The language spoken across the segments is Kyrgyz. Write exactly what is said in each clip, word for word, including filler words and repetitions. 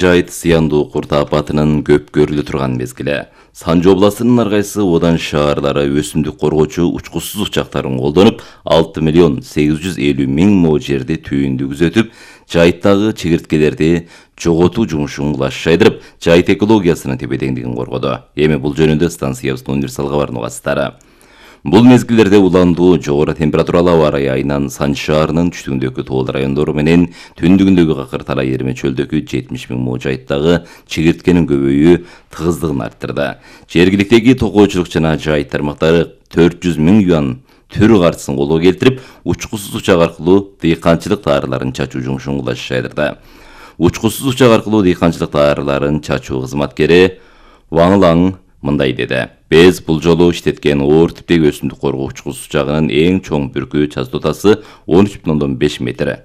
Жайыт зыяндуу курт апатынын көп көрүлө турган мезгили. Санжы областынын ар кайсы одан шаарлары өсүмдүк коргоочу учкучсуз учактарын колдонуп, алты миллион сегиз жүз элүү миң мо жерди түйүндү күзөтүп, жайыттагы чегирткелерди жоготуу жумушун кулаш жайдырып, жайыт экологиясынын тепе-теңдигин коргоду. Эми бул жөнүндө станциябыздын универсал кабарынын угаттары. Бул мезгилдерде уландуу жогору температуралуу аба ырайы айынан Санжы шаарынын түштүгүндөгү тоол райондору менен түндүгүндөгү Какыр Талай Эрме чөлдөгү жетимиш миң мо жайыттагы чегирткенин көбөйүү тыгыздыгын арттырды. Жергиликтеги токоочулук жана жайыт тармактары төрт жүз миң юан төр картысын колго келтирип, учкучсуз учак аркылуу дыйканчылык таарыларын чачуу жумушун кулаш жайдырды. Учкучсуз учак аркылуу дыйканчылык таарыларын чачуу кызматкери Ваңлаң мындай деди: Без бул жолу иштеткен оор типтеги өсүмдүк коргоо учкучсуз учагынын эң чоң бүркү частотасы он үч бүтүн ондон беш метр.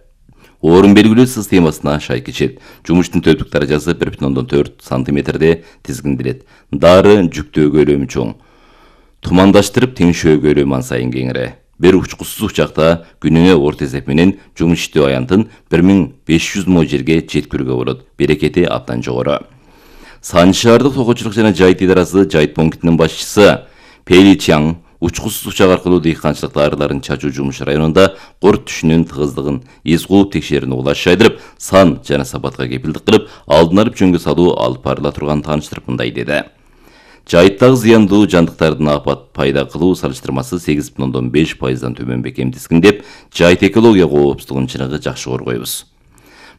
Орун белгилөө системасына шай кечет. Жумуштун төптүк даражасы бир бүтүн ондон төрт сантиметрде тизгинделет. Дары жүктөө көлөмү чоң. Тумандаштырып теңшөө көлөмү ан сайын кеңири. Бир учкучсуз учакта күнүнө орто эсеп менен жумуш иштөө аянтын бир миң беш жүз мо жерге жеткирүүгө болот. Берекети абдан жогору. Санжы шаардык токоочулук жана жайыт идарасы жайыт пунктунун башчысы Пели Чаң учкучсуз учак аркылуу дыйканчылык таарыларын чачуу жумушу районунда корт түшүнүн тыгыздыгын эс кууп текшерүүнү кулаш жайдырып, сан жана сапатка кепилдик кылып, алдын алып жөнгө салуу алып барыла турганын тааныштырып мындай деди: Жайыттагы зыяндуу жандыктардын апат пайда кылуу салыштырмасы сегиз бүтүн ондон беш пайыздан төмөн бекем тизгиндеп, жайыт экология коопсуздугунун чыныгы жакшы коргойбуз.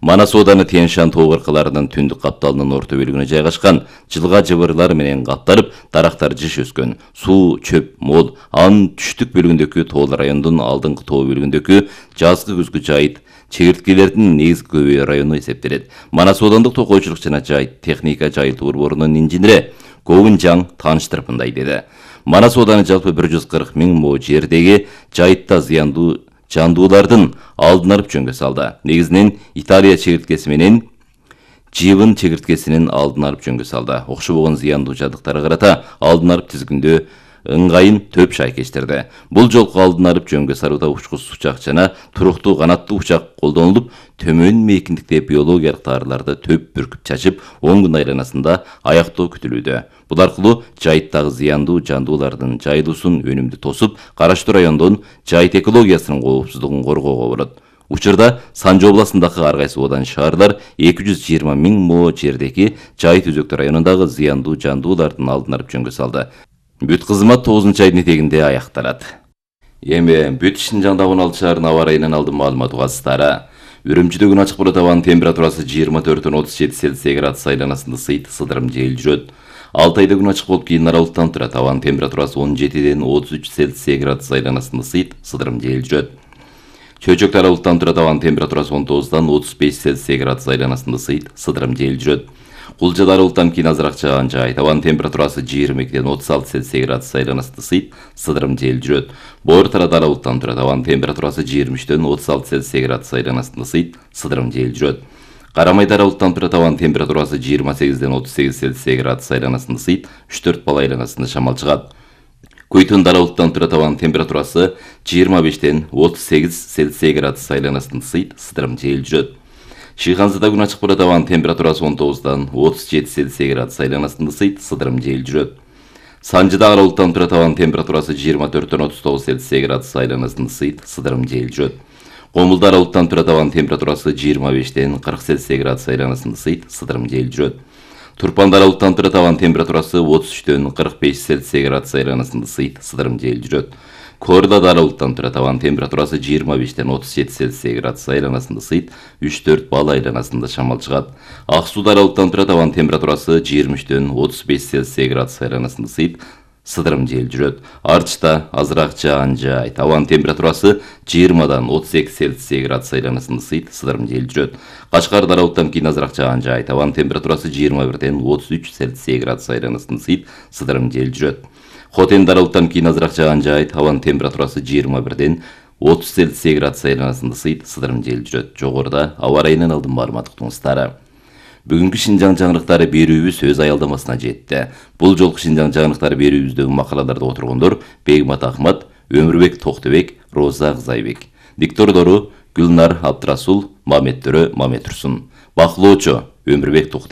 Манас ооданы Тянь-Шань тоо кыркаларынын түндүк капталынын орто бөлүгүнө жайгашкан, жылга жыбырлар менен капталып, дарактар жыш өскөн, суу, чөп мол. Анын түштүк бөлүгүндөгү тоол райондун алдыңкы тоо бөлүгүндөгү жазгы күзгү жайыт чегирткелердин негизги көбөйүү району эсептелет. Манас оодандык токоочулук жана жайыт техника жайылтуу борборунун инженери Говун Жаң тааныштырып мындай деди: Манас ооданы жалпы бир жүз кырк миң мо жердеги жайытта зыяндуу жандуулардын алдын алып жөнгө салды. Негизинен Италия чегирткеси менен Живын чегирткесинин алдын алып жөнгө салды. Окшобогон зыяндуу жабдыктарга карата алдын алып тизгиндөө ыңгайын төп шай кечтирди. Бул жолку алдын алып жөнгө салууда учкучсуз учак жана туруктуу канаттуу учак колдонулуп, төмөн мейкиндикте биологиялык таарыларды төп бүркүп чачып, он күн айланасында аяктоо күтүлүүдө. Бул аркылуу жайыттагы зыяндуу жандуулардын жайылуусун өнүмдүү тосуп, караштуу райондон жайыт экологиясынын коопсуздугун коргоого болот. Учурда Санжы областындагы ар кайсы одан шаарлар эки жүз жыйырма миң мо жердеги жайыт өзөктүү районундагы зыяндуу жандуулардын алдын алып жөнгө салды. Бүт кызмат тогузунчу айдын этегинде аякталат. Эми бүт Шинжаңдагы он алты шаарынын аба ырайынан алдын маалымат угасыздары. Үрүмчүдө күн ачык болот, абанын температурасы жыйырма төрттөн отуз жети Цельсий градус айланасында сыйт сыдырым жел жүрөт. Алтайда күн ачык болуп, кийин аралыктан турат. Абанын температурасы он жетиден отуз үч Цельсий градус айланасында сыйт сыдырым жел жүрөт. Чөйчөктө аралыктан турат. Абанын температурасы он тогуздан отуз беш Цельсий градус айланасында сыйт сыдырым жел жүрөт. Кулжада аралыктан кийин азыраак жааган жайыт. Абанын температурасы жыйырма экиден отуз алты Цельсий градус айланасында сыйт сыдырым жел жүрөт. Боор тарада аралыктан турат. Абанын температурасы жыйырма үчтөн отуз алты Цельсий градус айланасында сыйт сыдырым жел жүрөт. Карамайда аралыктан турат. Абанын температурасы жыйырма сегизден отуз сегиз Цельсий градус айланасында сыйт үч төрт балл айланасында шамал чыгат. Көйтүндө аралыктан турат. Абанын температурасы жыйырма бештен отуз сегиз Цельсий градус айланасында сыйт сыдырым жел жүрөт. Шыйханзада күн ачык болот. Абанын температурасы он тогуздан отуз жети Цельсий градус айланасында сыйт сыдырым жел жүрөт. Санжыда аралыктан турат. Абанын температурасы жыйырма төрттөн отуз тогуз Цельсий градус айланасында сыйт сыдырым жел жүрөт. Комулда аралыктан турат. Абанын температурасы жыйырма бештен кырк Цельсий градус айланасында сыйт сыдырым жел жүрөт. Турпанда аралыктан турат. Абанын температурасы отуз үчтөн кырк беш Цельсий градус айланасында сыйт сыдырым жел жүрөт. Корлада аралыктан турат. Абанын температурасы жыйырма бештен отуз жети Цельсий градус айланасында сыйт үч төрт балл айланасында шамал чыгат. Ак сууда аралыктан турат. Абанын температурасы жыйырма үчтөн отуз беш Цельсий градус айланасында сыйт сыдырым жел жүрөт. Арчта азыраак жааган жайыт. Абанын температурасы жыйырмадан отуз эки Цельсий градус айланасында сыйт сыдырым жел жүрөт. Качкарда аралыктан кийин азыраак жааган жайыт. Абанын температурасы жыйырма бирден отуз үч Цельсий градус айланасында сыйт сыдырым жел жүрөт. Хотенде аралыктан кийин азыраак жааган жайыт. Абанын температурасы жыйырма бирден отуз Цельсий градус айланасында сыйт сыдырым жел жүрөт. Жогоруда аба ырайынан алдын маалымат уктуңуздар. Бүгүнкү Шинжаң жаңырыктары берүүбүз өз аялдамасына жетти. Бул жолку Шинжаң жаңырыктары берүүбүздөгү макалаларда отургондор Бегмат Ахмат, Өмүрбек Токтобек, Роза Кызайбек. Диктордору Гүлнар Абдрасул, Маметтөрө Маметтурсун. Бакылоочу Өмүрбек Токтобек.